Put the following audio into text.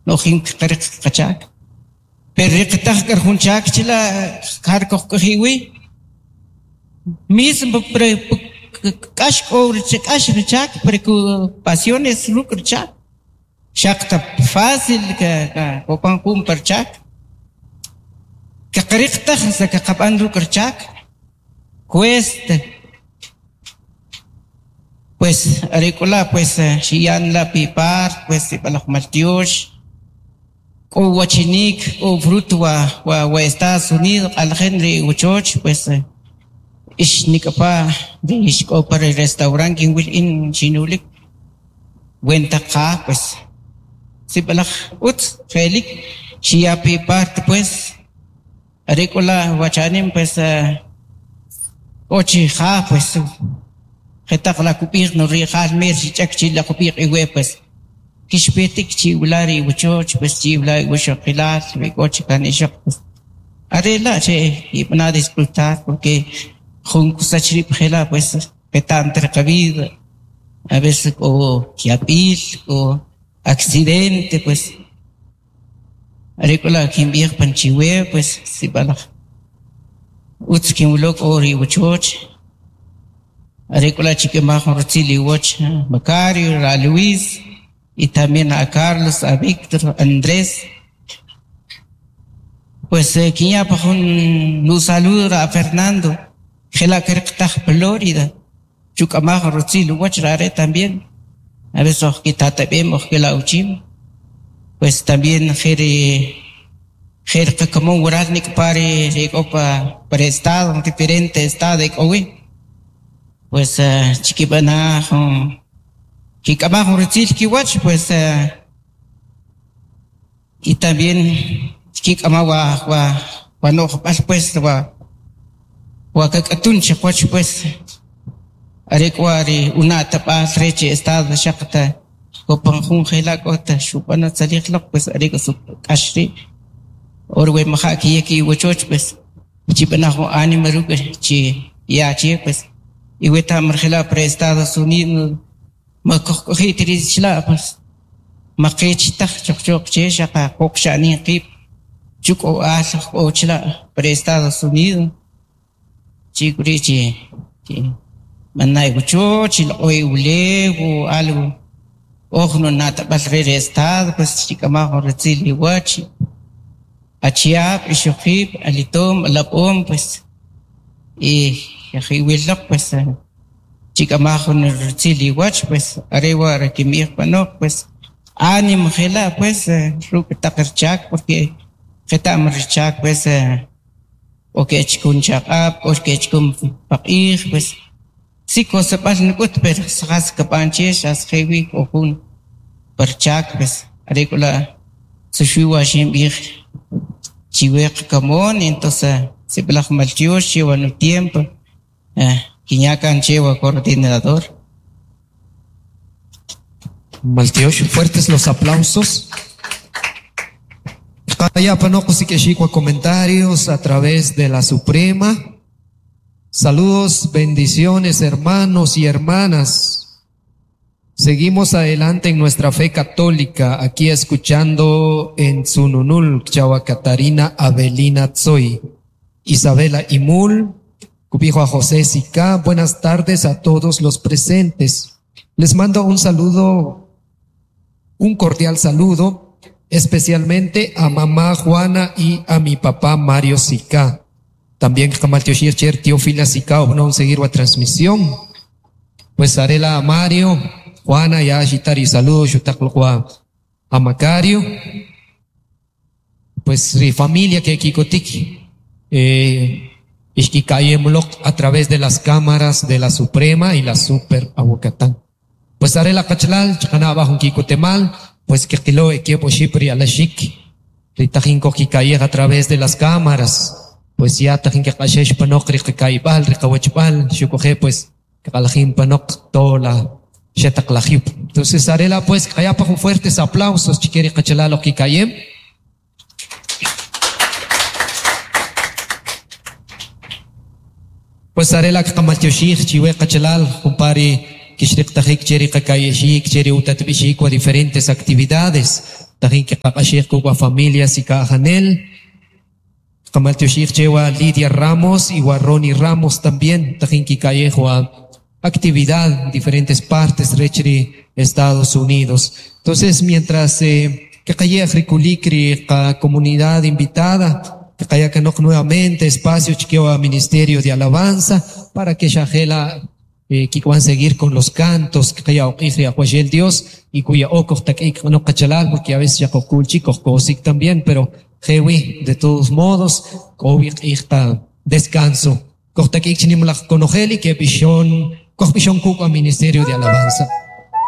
No'jim kqariq qachak. Pero riqitaj k'ar jun chak chila' jar kojk'oji' wi. Mismo k'ax k'o k'ax ri chak pero ku pasiones ruk' ri chak. Xaq ta fácil kopan jun pa ri chak. Kaqariq taj sa kaqab'an ruk' ri chak. Cuesta. Pues are k'u la' pues xiyan la' pi part pues sib'alaj maltyox k'o uwachinik k'o fruto wa wa Estados Unidos q'alajin ri wachoch pues ix nik'apa' ri ix k'o pa ri restaurant kinwil in xinulik wen taq qaj pues sib'alaj utz je'lik xiya pi part pues. Are k'u la' wachanim pues k'o chi ja pues jetaq la kub'ij no ri'jal mer xich'ak chi la kub'ij iwe pues kixpetik chi'wila ri iwachoch pues chi'wila iwixoqilal we k'o chi kan ixoq pues are la' che kib'ana disfrutar porque jun kusach rib' jela' pues qeta'm ta ri qabida a veces k'o yab'il k'o accidente pues. Are k'u la' kinb'ij pan chiwe pues sib'alaj utz kinwilo k'o ri iwachoch, are k'u la' chik'amaj jun rutzil iwach Macario, a Luis y también a Carlos, a Víctor, a Andrés. Pues kinya' pa jun nusaludo a Fernando jela' kariqtaj Florida. Chuk'amaj rutzil uwach ri are' también, a veces oj kitatab'em oj kela' uchim, pues también je ri je ri qakamon waral nik'pa ri e k'o pa ri estado, diferente estado e k'o wi, pues chikib'ana' jun kik'amaj jun rutzil kiwach pues y también kik'ama' wa wa wa no'jb'al pues wa wa kak'atun chiqwach pues are k'u wa ri una'tab'al rech ri estado xaq ta kopan jun jela' k'o ta xub'ano tzalij loq pues are k'u suk k'ax ri' or we maja' kiyak iwachoch pues chib'ana' jun ánimo ruk' chi ya che pues iweta'm jela' pa ri Estados Unidos ma kojk'oji' ta ri' chila' pues ma qech taj choqchoq che xaq qoqxa'nin qib' chuk'o'al k'o chila' pa ri Estados Unidos chi' k'u ri' chi b'ana' iwachoch chiloq'o iwulew o algo oj nuna'tab'al re ri estado pues chik'ama' jun rutzil iwach achiab', ixoqiib', alitom, alab'om pues y iwil loq pues chik'ama' jun rutzil iwach pues are wa' ri kinb'ij panoq pues ánimo jela' pues ruk' taq richaak porque qeta'm richaak pues k'o ke'chukun chaq'ab', k'o ke'chukun paq'ij pues si koseb'al nik'ut pero jas kab'an che xas je' wi k'o jun pa richaak pues are k'u la' xu wa xinb'ij chiwe qakamon entonces sib'alaj maltyox che wa nutiempo. Kinya' kan che wa coordinador. Maltyox, fuertes los aplausos. Kaya panoq usik'ixik wa comentarios a través de la Suprema. Saludos, bendiciones, hermanos y hermanas. Seguimos adelante en nuestra fe católica, aquí escuchando en Tzununul, Chawa Catarina Avelina Tzoy, Isabela Imul, Cubijo a José Sica. Buenas tardes a todos los presentes. Les mando un saludo, un cordial saludo, especialmente a mamá Juana y a mi papá Mario Sica. También Kamal Tioshir Cher, Teófila Sica, no seguir la transmisión. Pues Arela a Mario, Juana ya Shitari saludo, Shutakloqua a Macario. Pues ri familia que kikotik, ixkikayemloq a través de las cámaras de la Suprema y la Super Aguacatán. Pues Arela Kachlal, chakana abajo kikotemal, pues que kilo equipo shipri alashik, ritajin kikayej a través de las cámaras, pues ya tajin que kashesh panok rikaibal, rikawachbal, shukoje pues kalajin panok tola shetaklajip. Entonces Arela pues kaya pa con fuertes aplausos chiqueri kachalalo kikayem. Pues Arela kamaltyoshij chiwe kachalal, kumpari kishrik tajik cheri kakayeshik cheri utatbishik wa diferentes actividades. Tajin kiqaq'axij kuk' familias y ka'ajanel. Qamaltyoxij chewa Lidia Ramos y wa Ronnie Ramos también. Tajin kikayej wa actividad en diferentes partes rech ri Estados Unidos. Entonces, mientras kaqayej rikulik ri qa comunidad invitada, kaqayakanok nuevamente espacio chke wa Ministerio de Alabanza para que xajela kikwan seguir con los cantos kaqaya uq'ij ri Ajwaxel Dios y kuya okoj tak'ik no qachalal, porque a veces ya qojkulchik qojkosik también, pero jewi de todos modos k'o wi q'ij qa descanso. Kojtak'ik chinimlaj konojel y que b'ixon kojb'ixon kuk' wa Ministerio de Alabanza.